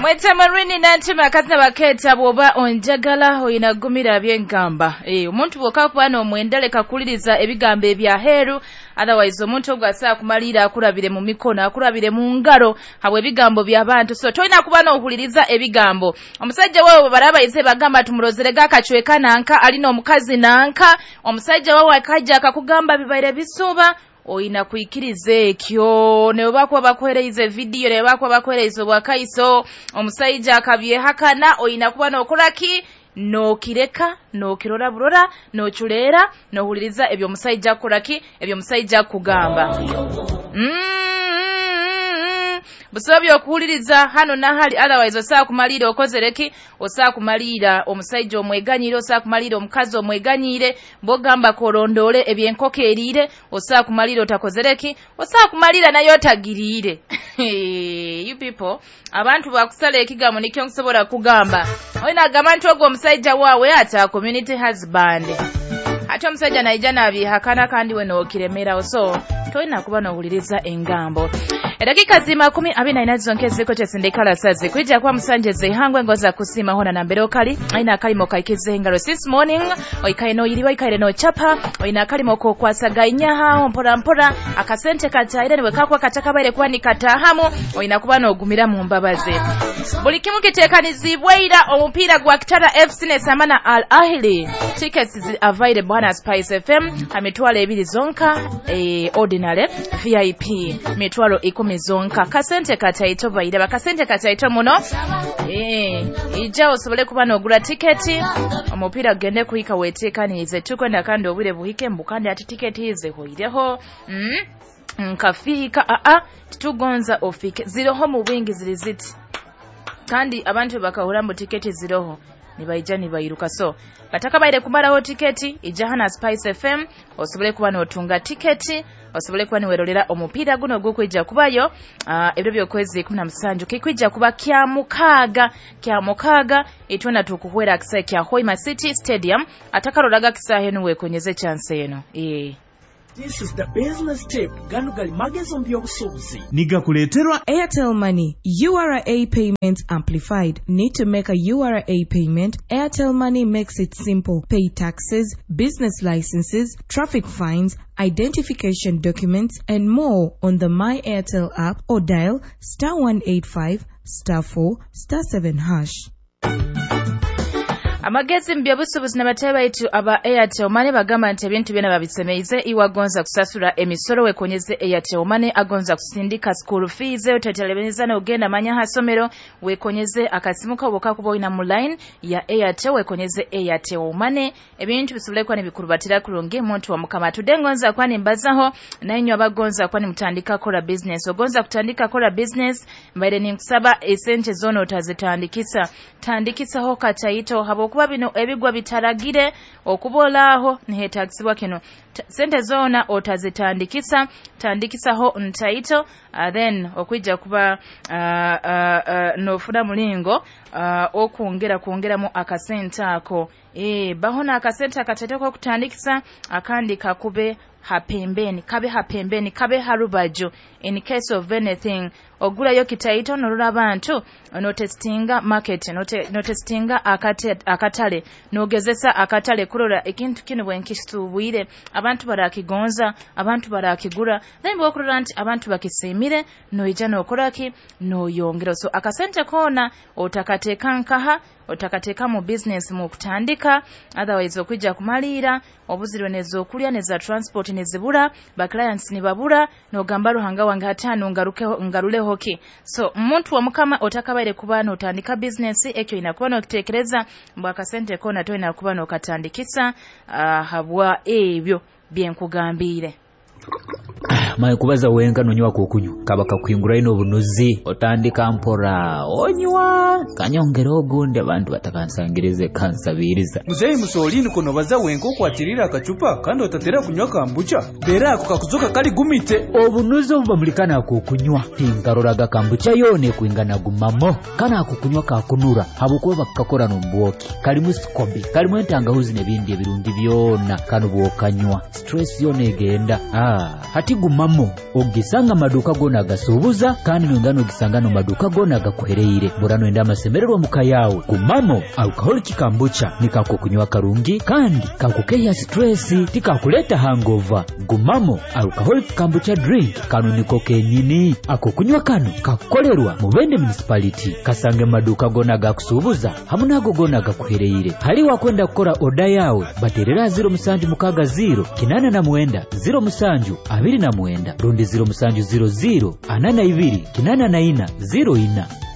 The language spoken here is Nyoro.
Bamweta Marini Nantima akazina baketa bwoba onjagala oyina gumira byengamba. Omuntu bwoka kuba n'omwenda kakuliriza ebigambo ebya heru, otherwise omuntu ogwo asaa kumalira akurabire mu mikono, akurabire mu ngaro habwe ebigambo by'abantu. So toyina kuba n'ohuliriza ebigambo. Omusajja wewe barabayize bagamba tumurozerega akacweka nanka alina omukazi nanka, omusajja wewe akajja akakugamba bibaire bisuba, oyina kuikiriza ekyo. Ne bakuba bakuhereize video, ne bakuba bakuhereize obwakaiso, omusajja akabyehakana, oyina kuba n'okoraki nokireka, nokirora burora, nochuleera, nohuliriza ebyo omusajja akoraki, ebyo omusajja akugamba. Busobyo okuwuliriza hano nahali, otherwise osaa kumalira okozereki, osaa kumalira omusajja omweganyire, osaa kumalira omukazi omweganyire, bwogamba kolondole ebyenkoko eriire, osaa kumalira otakozereki, osaa kumalira nayo otagiriire. You people, abantu bakusala ekigambo nikyo nkusobola kugamba. Oyina agamba nti ogwo omusajja waawe ata community husband. Ate omusajja naija nabyehakana kandi we n'okiremerawo, so tolina kuba n'owuliriza engambo. Edakika zima 24 zonke ziko chesindikala sazi kuija kwa musanje zihangwe ngoza kusima hona na mbere okali aina akalimo kaikize engalo this morning oikaye no yiriwa ikaire no chapa oina akalimo ko kwasagainyaha mpora mpora akasente kataire niwe kakwa katakabaire kuba nikatahamu oina kuba n'ogumira mu mbabazi. Buli kimu kiteekanizibwa omupiira gwa Kitara FC ne Samana Al Ahly. Tickets is available hana Spice FM amitwalo 2 zonka, ordinary VIP mitwalo 10 zonka. Kasente kataito bairaba, kasente kataito muno. Ija osobole kuba n'ogula tiketi omupiira gende kuhika weteekanize tukwenda kandi obwire buhike mbukandi ati tiketi ize hoireho. Nkafika titugonza ofike ziroho mu bwingi ziri ziti kandi abantu bakahura mu tiketi ziroho nibaija nibairuka. So batakabaire kumaraho tiketi ija hana Spice FM osobole kuba n'otunga tiketi osobole kuba niwerolera omupiira guno gukwija kubayo ebyo byokwezi 17 kikwija kuba kya mukaaga itwena tukuhwera akisa kya Hoima City Stadium atakaroraga kisahe nuwe konyeze chance eno. This is the business tip. Gano gali magezo mbyobusuubuzi. Nigakuleeterwa Airtel Money. URA payments amplified. Need to make a URA payment? Airtel Money makes it simple. Pay taxes, business licenses, traffic fines, identification documents, and more on the My Airtel app or dial *185 *4 *7#. Amagezi mbyabusubuzi n'abatebe baitu aba Airtel Money bagamba nti ebintu byona babisemeize. Iwagonza kusasula emisoro wekonyeze Airtel Money, agonza kusindika school fees otetelebeza n'ogenda manya hasomero wekonyeze akasimu kawo kakuba olina mu line ya Airtel wekonyeze Airtel Money ebintu bisobole kuba nibikurubatira kurungi muntu wa Mukama. Tudengonza kwani mbazaho nainywe abagonza kwani mutandika kola business, ogonza kutandika kola business mbaire ninkusaba esente zono otazitandikisa, tandikisaho kataito habo kuba bino ebigwa bitaragire okubolaaho nihetagisibwa kino. Sente zona otazitandikisa, tandikisaho ntaito, then okwijja kuba nofuna mulingo okwongera kwongeramu akasente ako. Baho na akasente akataito ko kutandikisa akandi kakube hapembeni, kabe hapembeni, kabe harubajo in case of anything. Ogulayo kitaito norora abantu notestinga market, notestinga akatale, nogezesa akatale kurora ekintu kino bwenkisubwire abantu barakigonza, abantu barakigura, then bwokurora nti abantu bakisimire noija nokoraki noyongera. So akasente kona otakateka nkaha, otakateka mu business mu kutandika, otherwise okwijja kumalira obuzirwe nezokulya neza transport nezibura, ba clients nibabura nogamba Ruhanga wange hatano ngaruleho ki. So muntu wa Mukama otakabaire kuba notandika business ekyo inakuba nokitekereza mbwa akasente kona toina kuba nokatandikisa habwa ebyo byenkugambire. Maye kubaza wenka nonywa kukunywa kaba kakuhingura ino obunuzi otandika mpora onywa kanyongera ogundi abantu batakansangirize kansabiriza. Muzeyi musolini kono baza wenka okwatirira akacupa kandi otatera kunywa kambucha bera ako kakuzoka kali gumite obunuzi obubamulikana kukunywa tinkaroraga kambucha yone kuingana gumamo kana kukunywa kakunura habukuba bakakora nombwoki kalimu sikobi kalimu entangahuzi nebindi ebirungi byona kano bwokanywa stress yone egenda. Hati gumamo. Gumamo ogisanga amaduuka goona agasuubuza, kandi nongera nogisanga n'omu maduuka goona agakuhereire. Bora noyenda amasemererwa muka yawe, Gumamo alcoholic kombucha nikakukunywa karungi kandi kakukeya stress, tikakuleta hangover. Gumamo alcoholic kombucha drink kano niko kenyini. Ako kunywa kano kakukolerwa Mubende Municipality. Kasange mu maduuka goona agakusuubuza hamu n'ago goona agakuhereire. Hali wakwenda kukora oda yawe, baterera 0760 89 07 29 rundi 0700 42 84 04.